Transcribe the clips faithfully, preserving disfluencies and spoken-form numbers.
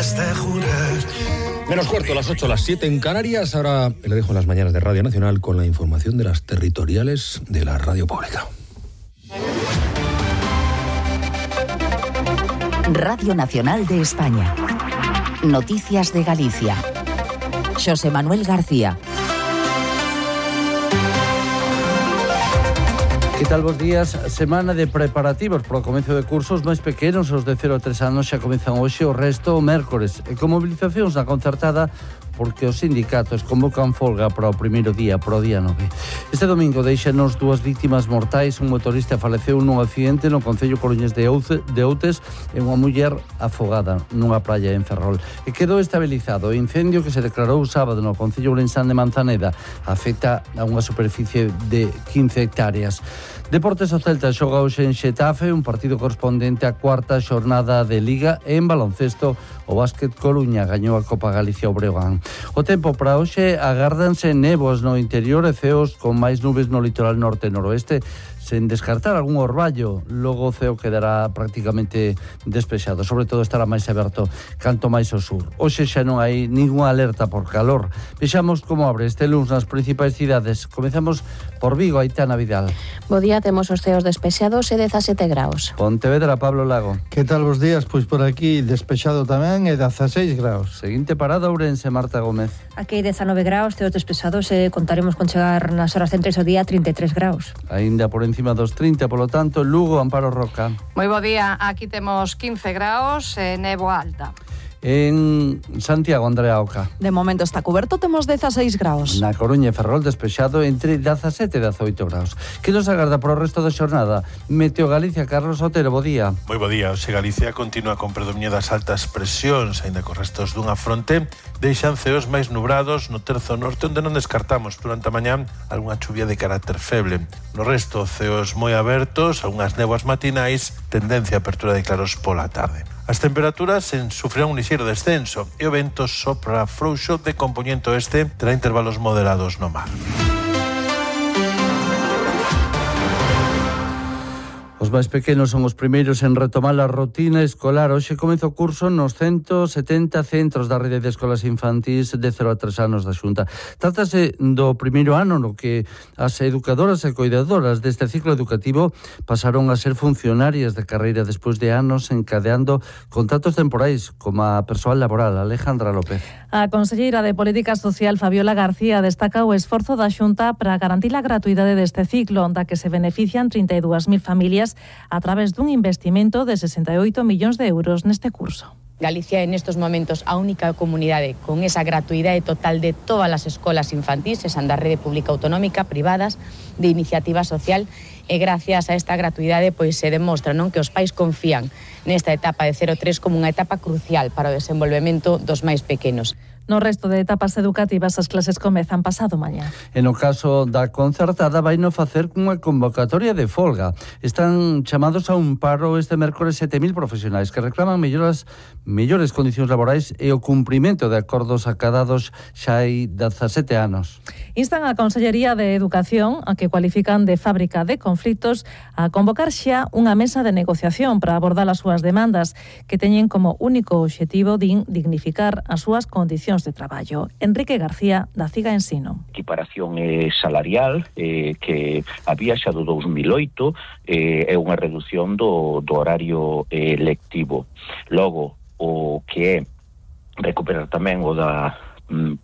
antes de jurar. Menos cuarto, las ocho, las siete en Canarias. Ahora le dejo en las mañanas de Radio Nacional con la información de las territoriales de la radio pública. Radio Nacional de España. Noticias de Galicia. Xosé Manuel García. Que tal, bos días? Semana de preparativos para o comezo de cursos máis pequenos, os de cero a tres anos xa comezan hoxe, o resto o mércores, e con mobilizacións na concertada porque os sindicatos convocan folga para o primeiro día, para o día nove. Este domingo deixanos dúas vítimas mortais, un motorista faleceu nun accidente no concello coruñés de Outes e unha muller afogada nunha praia en Ferrol. E quedou estabilizado o incendio que se declarou sábado no concello ourensán de Manzaneda. Afecta a unha superficie de quince hectáreas. Deportes, o Celta xoga hoxe en Xetafe, un partido correspondente á cuarta xornada de Liga, e en baloncesto o Básquet Coruña gañou a Copa Galicia ao Breogán. O tempo para hoxe: agárdanse néboas no interior e ceos con máis nubes no litoral norte e noroeste, sen descartar algún orballo. Logo o ceo quedará prácticamente despexado, sobre todo estará máis aberto canto máis ao sur. Hoxe xa non hai ninguna alerta por calor. Vexamos como abre este luns nas principais cidades. Comezamos por Vigo, Aitana Vidal. Bo día, temos os ceos despexados e dezasete graus. Pontevedra, Pablo Lago. Que tal vos días? Pois por aquí despexado tamén e dezaseis graus. Seguinte parada, Ourense, Marta Gómez. Aquí dezanove graus, ceos despexados, e contaremos con chegar nas horas centrais do día trinta e tres graus. Aínda por encima dos trinta, polo tanto, Lugo, Amparo Roca. Moi bo día, aquí temos quince graus e néboa alta. En Santiago, Andrea Oca. De momento está coberto, temos dezaseis graus. Na Coruña e Ferrol despexado entre dezasete e dezaoito graus. Que nos agarda para o resto da xornada? Meteo Galicia, Carlos Otero, bo día. Moi bo día. Hoxe Galicia continúa con predominio das altas presións, aínda con restos dunha fronte, deixan ceos máis nubrados no terzo norte, onde non descartamos durante a mañá algunha chuvia de carácter feble. No resto, ceos moi abertos, algunhas néboas matinais, tendencia a apertura de claros pola tarde. As temperaturas en sufrirán un lixeiro descenso e o vento sopra frouxo de compoñente oeste, terá intervalos moderados no mar. Os máis pequenos son os primeiros en retomar a rutina escolar. Hoxe comeza o curso nos ciento setenta centros da rede de escolas infantís de cero a tres anos da Xunta. Trátase do primeiro ano no que as educadoras e cuidadoras deste ciclo educativo pasaron a ser funcionarias de carreira despois de anos encadeando contratos temporais como a persoal laboral. Alejandra López. A conselleira de Política Social, Fabiola García, destaca o esforzo da Xunta para garantir a gratuidade deste ciclo, da que se benefician trinta e dúas mil familias a través dun investimento de sesenta e oito millóns de euros neste curso. Galicia é nestes momentos a única comunidade con esa gratuidade total de todas as escolas infantís, esan da rede pública autonómica, privadas, de iniciativa social, e gracias a esta gratuidade pois se demostra, non, que os pais confían nesta etapa de cero a tres como unha etapa crucial para o desenvolvemento dos máis pequenos. No resto de etapas educativas as clases comezan pasado mañá. E no caso da concertada vai no facer cunha convocatoria de folga. Están chamados a un paro este mércores sete mil profesionais que reclaman melloras, mellores condicións laborais e o cumprimento de acordos acadados xa hai dezasete anos. Instan a Consellería de Educación, a que cualifican de fábrica de conflitos, a convocar xa unha mesa de negociación para abordar as súas demandas, que teñen como único obxectivo din dignificar as súas condicións de traballo. Enrique García, da CIGA Ensino. Equiparación eh, salarial eh, que había xa do dous mil oito eh, é unha reducción do, do horario eh, lectivo. Logo, o que é recuperar tamén o da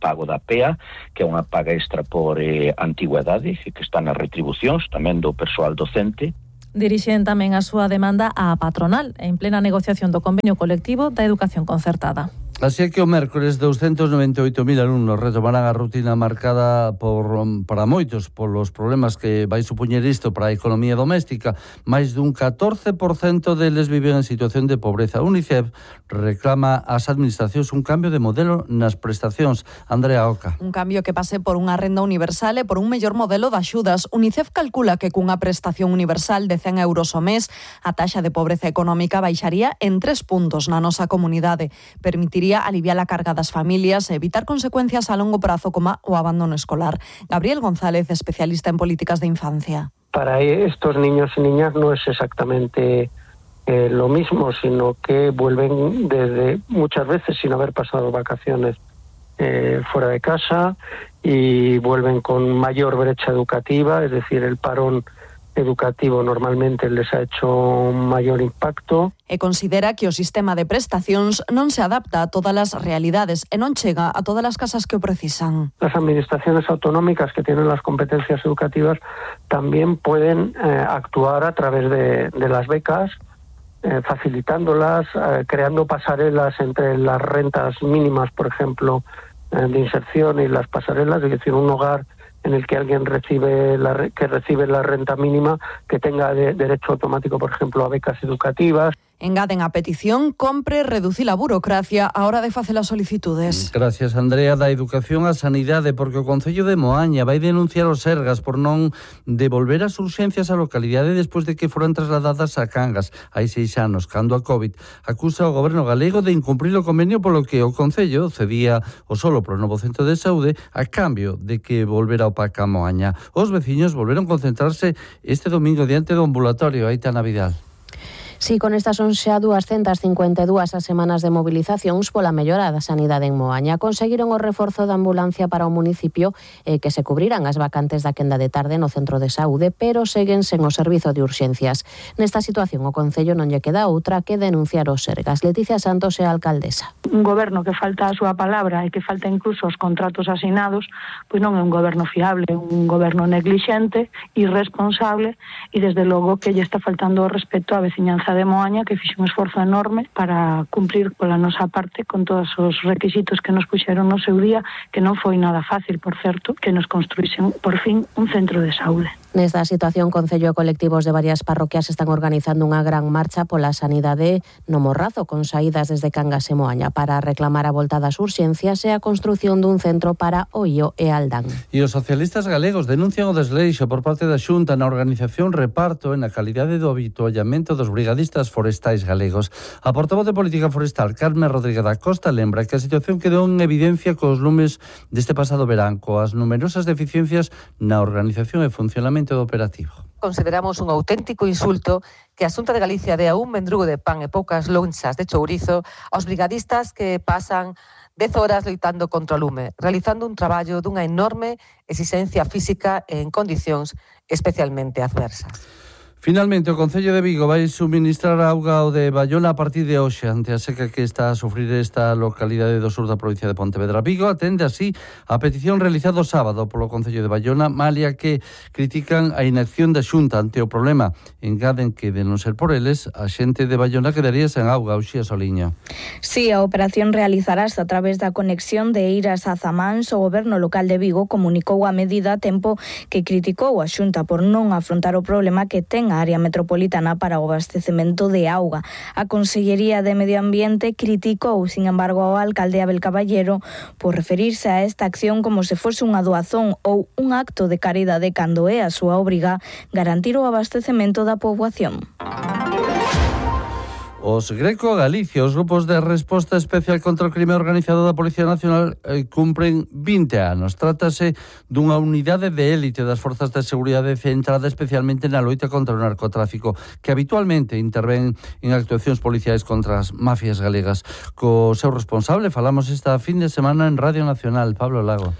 pago da P E A, que é unha paga extra por eh, antigüedade, que está nas retribucións tamén do persoal docente. Dirixen tamén a súa demanda á patronal en plena negociación do convenio colectivo da educación concertada. Así é que o mércores douscentos noventa e oito mil alumnos retomarán a rutina marcada por para moitos polos problemas que vai supoñer isto para a economía doméstica. Mais dun catorce por cento deles viven en situación de pobreza. UNICEF reclama ás administracións un cambio de modelo nas prestacións. Andrea Oca. Un cambio que pase por unha renda universal e por un mellor modelo de axudas. UNICEF calcula que cunha prestación universal de cen euros ao mes, a taxa de pobreza económica baixaría en tres puntos na nosa comunidade. Permitiría aliviar a carga das familias e evitar consecuencias a longo prazo como o abandono escolar. Gabriel González, especialista en políticas de infancia. Para estos niños y niñas no es exactamente eh, lo mismo, sino que vuelven desde muchas veces sin haber pasado vacaciones eh, fuera de casa y vuelven con mayor brecha educativa, es decir, el parón educativo normalmente les ha hecho mayor impacto. E considera que o sistema de prestacións non se adapta a todas as realidades e non chega a todas as casas que o precisan. Las administraciones autonómicas que tienen las competencias educativas también pueden eh, actuar a través de, de las becas, eh, facilitándolas, eh, creando pasarelas entre las rentas mínimas, por ejemplo, eh, de inserción y las pasarelas, es decir, un hogar en el que alguien recibe la, que recibe la renta mínima, que tenga de, derecho automático, por ejemplo, a becas educativas. Engaden a petición, compre, reducir a burocracia a hora de facer as solicitudes. Gracias, Andrea. Da educación á sanidade, porque o Concello de Moaña vai denunciar os Sergas por non devolver as urxencias á localidade despois de que foran trasladadas a Cangas hai seis anos, cando a COVID acusa o goberno galego de incumprir o convenio polo que o Concello cedía o solo pro novo centro de saúde a cambio de que volvera o P A C a Moaña. Os veciños volveron concentrarse este domingo diante do ambulatorio Aitana Vidal. Sí, con estas son xa dúascentas cincuenta e dúas as semanas de movilizacións pola mellora da sanidade en Moaña. Conseguiron o reforzo da ambulancia para o municipio e eh, que se cubrirán as vacantes da quenda de tarde no centro de saúde, pero seguen sen o servizo de urxencias. Nesta situación o Concello non lle queda outra que denunciar os Sergas. Leticia Santos é a alcaldesa. Un goberno que falta a súa palabra e que falta incluso os contratos asinados, pois non é un goberno fiable, é un goberno neglixente, irresponsable e desde logo que lle está faltando o respeto á veciñanza de Moaña, que fixe un esforzo enorme para cumprir pola nosa parte con todos os requisitos que nos puxeron no seu día, que non foi nada fácil, por certo, que nos construísen por fin un centro de saúde. Nesta situación, Concello e colectivos de varias parroquias están organizando unha gran marcha pola sanidade no Morrazo, con saídas desde Cangas e Moaña para reclamar a volta das urxencias e a construción dun centro para Oio e Aldán. E os socialistas galegos denuncian o desleixo por parte da Xunta na organización reparto e na calidade do habituallamento dos brigadistas forestais galegos. A portavoz de Política Forestal, Carmen Rodríguez da Costa, lembra que a situación quedou en evidencia cos lumes deste pasado verán, coas numerosas deficiencias na organización e funcionamento do operativo. Consideramos un auténtico insulto que a Xunta de Galicia dea un mendrugo de pan e poucas lonchas de chourizo aos brigadistas que pasan dez horas loitando contra o lume, realizando un traballo dunha enorme exigencia física e en condicións especialmente adversas. Finalmente, o Concello de Vigo vai suministrar auga ao de Bayona a partir de hoxe ante a seca que está a sufrir esta localidade do sur da provincia de Pontevedra. Vigo atende así a petición realizada o sábado polo Concello de Bayona, malia que critican a inacción da Xunta ante o problema. Engaden que, de non ser por eles, a xente de Bayona quedaría sen auga. Uxía Soliña. Sí, a operación realizarás a través da conexión de Eiras a Zamáns. O goberno local de Vigo comunicou a medida a tempo que criticou a Xunta por non afrontar o problema que ten a área metropolitana para o abastecemento de auga. A Consellería de Medio Ambiente criticou, sin embargo, ao alcalde Abel Caballero por referirse a esta acción como se fose unha doazón ou un acto de caridade cando é a súa obriga garantir o abastecemento da poboación. Os Greco Galicia, os grupos de resposta especial contra o crime organizado da Policía Nacional eh, cumpren vinte anos. Trátase dunha unidade de élite das forzas de seguridade centrada especialmente na loita contra o narcotráfico, que habitualmente intervén en actuacións policiais contra as mafias galegas. Co seu responsable falamos esta fin de semana en Radio Nacional, Pablo Lago.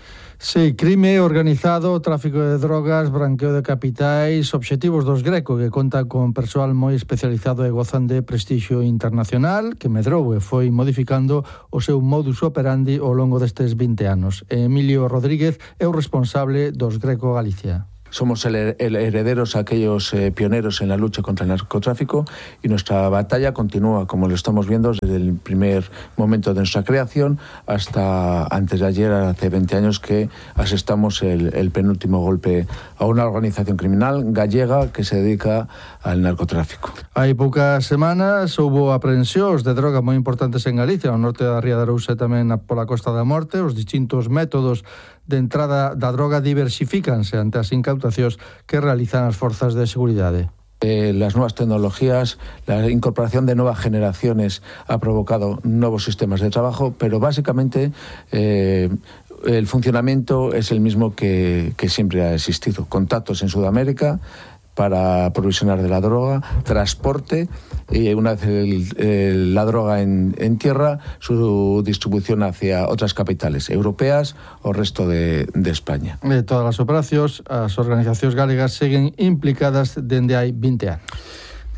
Sí, crime organizado, tráfico de drogas, branqueo de capitais, obxectivos dos Greco, que conta con persoal moi especializado e gozan de prestixio internacional, que medrou e foi modificando o seu modus operandi ao longo destes vinte anos. Emilio Rodríguez é o responsable dos Greco Galicia. Somos el, el herederos, aquellos eh, pioneros en la lucha contra el narcotráfico, y nuestra batalla continúa, como lo estamos viendo, desde el primer momento de nuestra creación hasta antes de ayer, hace veinte años, que asestamos el, el penúltimo golpe a una organización criminal gallega que se dedica al narcotráfico. Hai poucas semanas houbo aprehensións de droga moi importantes en Galicia, ao norte da Ría de Arousa e tamén pola Costa da Morte. Os distintos métodos de entrada da droga diversifícanse ante as incautacións que realizan as forzas de seguridade. Eh, las nuevas tecnologías, la incorporación de nuevas generaciones ha provocado nuevos sistemas de trabajo, pero básicamente eh, el funcionamiento es el mismo que, que siempre ha existido. Contactos en Sudamérica para aprovisionar de la droga, transporte y una vez el, el, la droga en, en tierra, su distribución hacia otras capitales europeas o resto de, de España. De todas as operacións, as organizacións galegas seguen implicadas dende hai vinte anos.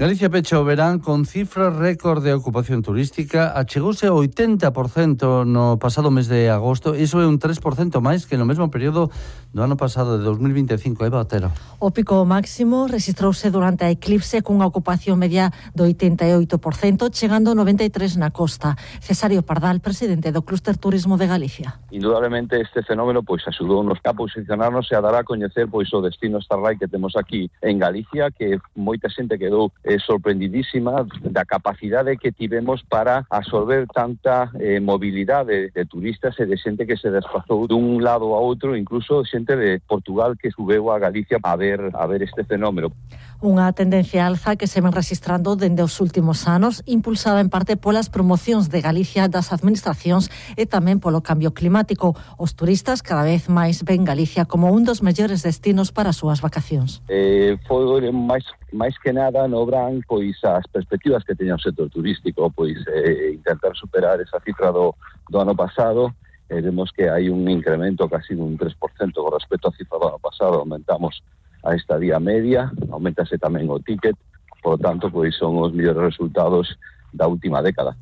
Galicia pecha o verán con cifras récord de ocupación turística, achegouse ao oitenta por cento no pasado mes de agosto, iso é un tres por cento máis que no mesmo período do ano pasado de dos mil vinte e cinco. Eva Otero. O pico máximo registrouse durante a eclipse cunha ocupación media do oitenta e oito por cento, chegando ao noventa e tres por cento na costa. Cesario Pardal, presidente do Clúster Turismo de Galicia. Indudablemente este fenómeno pois axudounos a posicionarnos e a dar a coñecer pois o destino Starlight que temos aquí en Galicia, que moita xente quedou eh, sorprendidísima da capacidade que tivemos para absorber tanta eh, mobilidade de turistas e de xente que se desplazou dun lado a outro, incluso xente de Portugal que subeu a Galicia a ver a ver este fenómeno. Unha tendencia alza que se ven registrando dende os últimos anos, impulsada en parte polas promocións de Galicia das administracións e tamén polo cambio climático. Os turistas cada vez máis ven Galicia como un dos mellores destinos para as súas vacacións. Eh, foi máis máis que nada no Bran, pois as perspectivas que teña o sector turístico, pois eh, intentar superar esa cifra do, do ano pasado. Eh, vemos que hai un incremento casi dun tres por cento con respecto á cifra do ano pasado. Aumentamos a estadía media, aumentase tamén o ticket, por lo tanto, pois son os mellores resultados da última década.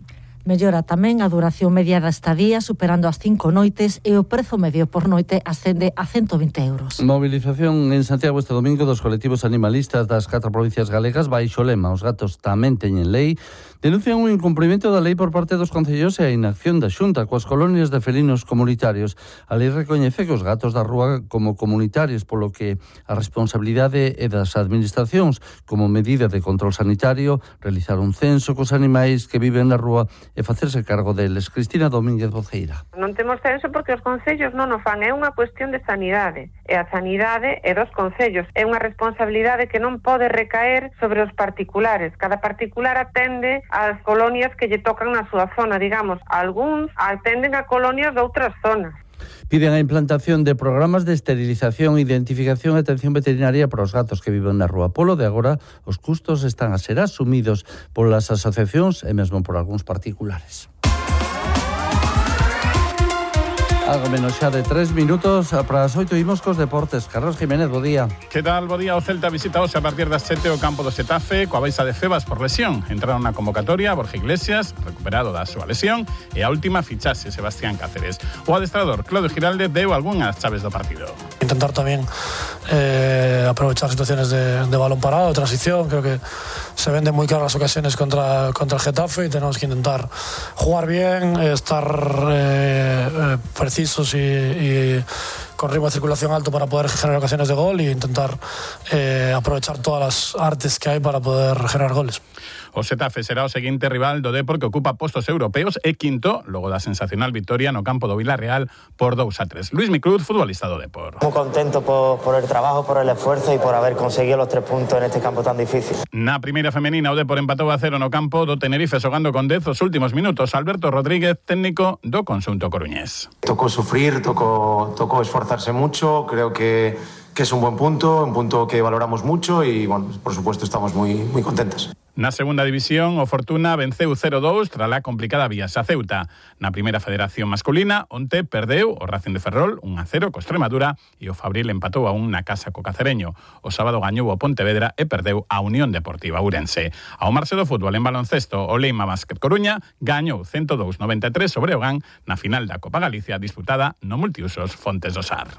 Mellora tamén a duración media da estadía, superando as cinco noites, e o prezo medio por noite ascende a ciento vinte euros. Movilización en Santiago este domingo dos colectivos animalistas das catro provincias galegas baixo o lema "Os gatos tamén teñen lei". Denuncian un incumprimento da lei por parte dos concellos e a inacción da Xunta coas colonias de felinos comunitarios. A lei recoñece que os gatos da rúa como comunitarios, polo que a responsabilidade é das administracións como medida de control sanitario, realizar un censo cos animais que viven na rúa e facerse cargo deles. Cristina Domínguez Boceira. Non temos censo porque os concellos non o fan, é unha cuestión de sanidade, e a sanidade é dos concellos, é unha responsabilidade que non pode recaer sobre os particulares. Cada particular atende ás colonias que lle tocan na súa zona, digamos, algúns atenden a colonias de outras zonas. Piden a implantación de programas de esterilización, identificación e atención veterinaria para os gatos que viven na rúa. Polo de agora, os custos están a ser asumidos polas asociacións e mesmo por algúns particulares. Algo menos xa de tres minutos para as oito imos cos deportes. Carlos Jiménez, bo día. Que tal, bo día? O Celta visita hoxe a partir das sete o campo do Xetafe coa baixa de Febas por lesión. Entraron na convocatoria Borja Iglesias, recuperado da súa lesión, e a última fichaxe Sebastián Cáceres. O adestrador Claudio Giralde deu algunhas chaves do partido. Intentar tamén eh, aprovechar situaciones de, de balón parado, de transición. Creo que se venden muy claras las ocasiones contra, contra el Getafe y tenemos que intentar jugar bien, estar eh, eh, precisos y, y con ritmo de circulación alto para poder generar ocasiones de gol e intentar eh, aprovechar todas las artes que hay para poder generar goles. O Xetafe será o seguinte rival do Depor, que ocupa postos europeos e quinto, logo da sensacional victoria no campo do Villarreal por dos a tres. Luis Micruz, futbolista do Depor. Muy contento por, por el trabajo, por el esfuerzo y por haber conseguido los tres puntos en este campo tan difícil. Na primeira femenina, o Depor empatou a cero no campo do Tenerife, xogando con dez os últimos minutos. Alberto Rodríguez, técnico do conxunto coruñés. Tocó sufrir, tocó, tocó esforzarse mucho, creo que, que es un buen punto, un punto que valoramos mucho y, bueno, por supuesto, estamos muy, muy contentos. Na segunda división, o Fortuna venceu cero dous tras a complicada viaxe a Ceuta. Na primeira federación masculina, onte perdeu o Racing de Ferrol un a cero co Extremadura e o Fabril empatou a un na casa co Cacereño. O sábado gañou o Pontevedra e perdeu a Unión Deportiva Ourense. Ao marxe do fútbol en baloncesto, o Leima Básquet Coruña gañou ciento dous a noventa e tres sobre o Gán na final da Copa Galicia disputada no multiusos Fontes do Sar.